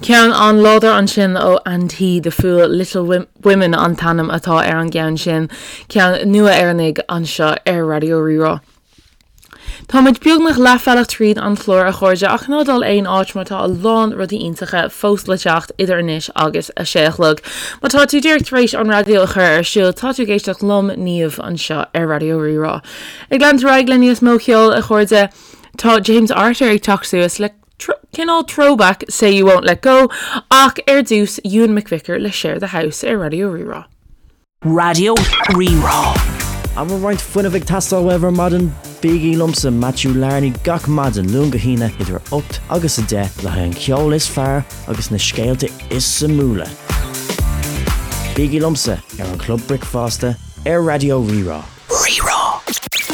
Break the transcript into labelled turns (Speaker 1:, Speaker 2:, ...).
Speaker 1: Ceann an-láidir ansin ó Andy the Fool, Little Women an t-ainm atá ar an gceann sin, ceann nua Éireannaigh anseo ar Raidió Rí-Rá. Tá muid beagnach leathbhealach tríd an chlár a chairde ach ná dul aon áit mar tá a lán rudaí iontacha fós le teacht idir anois agus a sé a chlog. Má tá tú díreach tar éis an raidió a chur ar siúl tá tú ag éisteacht liom, Niamh, anseo ar Raidió Rí-Rá. Ag leanúint ar aghaidh le níos mó ceoil a chairde, tá James Arthur ag teacht suas le cineál throwback Say You Won't Let Go ach ar dtús Ewan McVicar le Share the House ar Raidió Rí-Rá.
Speaker 2: Raidió Rí-Rá.
Speaker 3: An bhfuil roinnt fuinnimh ag teastáil uaibh ar maidin? Bígí liomsa, Matthew Larney, gach maidin, Luan go hAoine, idir 8 agus 10, le haghaidh an ceol is fearr agus na scéalta is suimiúla. Bígí liomsa ar an Chlub Bricfeasta ar Raidió Rí-Rá.
Speaker 2: Rí-Rá.